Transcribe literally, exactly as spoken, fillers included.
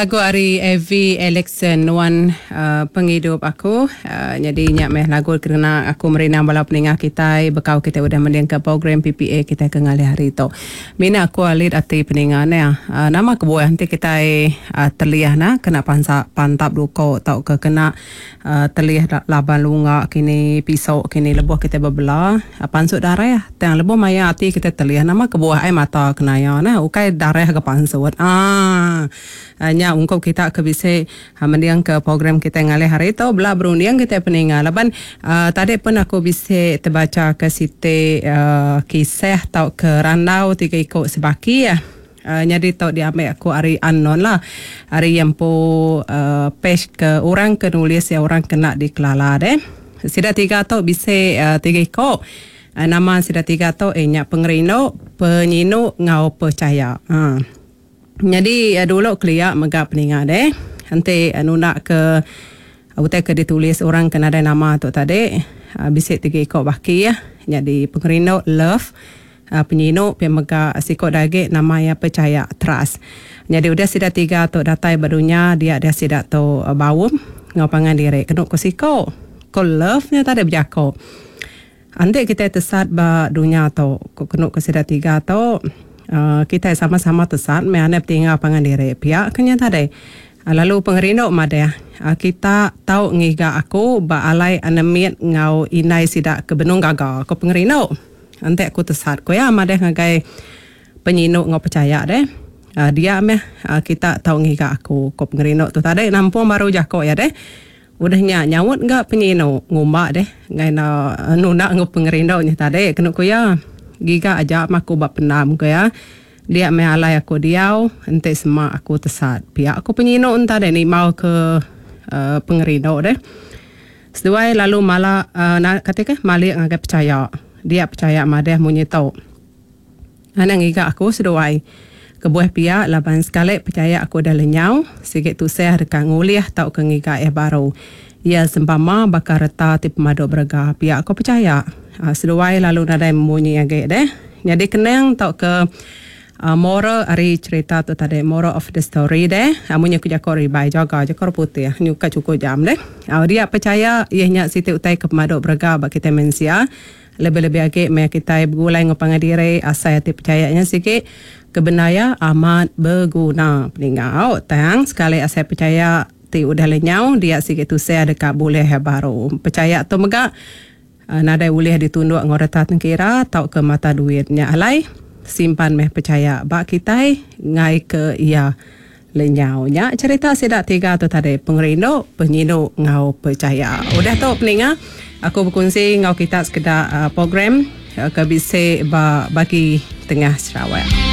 Lagu ari Evie Alexson Nuan Pengidup Aku. Nyadi nya meh lagu kena aku merindang bala peninga kitai bekau kitai udah mendingka program P P A kitai ke ngalih hari tu. Mina aku alit ati peninga neh. Nama kebuah enti kitai telih ne kena pansa pantap duko tauka kena telih laban lunga kini piso kini lebuh kitai bebela pansut darah tang lebuh maya ati kitai telih nama kebuah ai mata kena iya neh ukai darah ga pansut aaa. Nya ungkup kita ke bisi mending ke program kitai ngalih hari tu bela berunding kitai peninga laban uhh tadi pun aku bisi tebacha ke siti uhh kisah tauka randau tiga iku sebaki uhh nyadi tu diambi aku ari unknown lah ari iya empu uhh page ke orang ke nulis iya orang ke enda dikelala deh. Sida tiga tu bisi uhh tiga iku nama sida tiga tu iya nya pengerindu, penyinu enggau pechaya. Uhh. Nyadi dulu kelia mega peninga deh enti nunda ke utai ke ditulis orang ke nadai nama tu tadi bisi tiga iko baki nyadi pengerindu love penyinu pia mega siko da agi nama iya pechaya trust. Nyadi udah sida tiga tu datai ba dunya dia deh sida tu baum enggau pangan diri kenu ku siko ko love nya tadi bejako. Enti kitai tesat ba dunya tu ku kenu ku sida tiga tu. Kitai sama-sama tesat meh anai betinggal pangan diri pia ke nya tadi. Lalu pengerindu madah kita tau ngiga aku ba alai anemit enggau indai sida ke benung gaga ko pengerindu. Enti aku tesat ko iya madah ngagai penyinu enggau pechaya deh. Dia meh kita tau ngiga aku ko pengerindu tu tadi nampung baru jako iya deh. Udah nya nyaut ga penyinu ngumba deh ngagai nunda enggau pengerindu nya tadi kenu ku iya. Giga aja meh aku ba pendam ku iya. Dia meh alai aku diau enti sema aku tesat. Pia ku penyinu enta deh nimbau ke uhh pengerindu deh. Seduai lalu mala uhh kati kah malik ngagai pechaya. Dia pechaya madah munyi tu. Anang ngiga aku seduai. Kebuah pia laban sekali pechaya aku udah lenyau sigi tusah deka ngulih tauka ngiga iya baru. Iya sempama baka reta ti pemadu berega. Pia ku pechaya. Seduai lalu nadai memunyi agi deh. Nyadi kenang tauka moral ari cherita tu tadi, moral of the story deh. Munyi ku jaku ribai jaga jaku orang putih nyuka chukup jam deh. Dia pechaya iya nya siti utai ke pemadu berega ba kitai mensia. Lebih-lebih agi meh kitai begulai enggau pangan diri asai ati pechaya nya sigi ke bendar iya amat beguna. Peningau tang sekali asai pechaya ti udah lenyau dia sigi tusah deka bulih baru. Pechaya tu mega nadai ulih ditunduk enggau reta tengkira tauka mata duit. Nya alai simpan meh pechaya ba kitai enggai ke iya lenyau. Nya cherita sida tiga tu tadi pengerindu, penyinu enggau pechaya. Udah tu peninga aku bekunsi enggau kita sekeda program ke bisi ba bagi tengah Sarawak.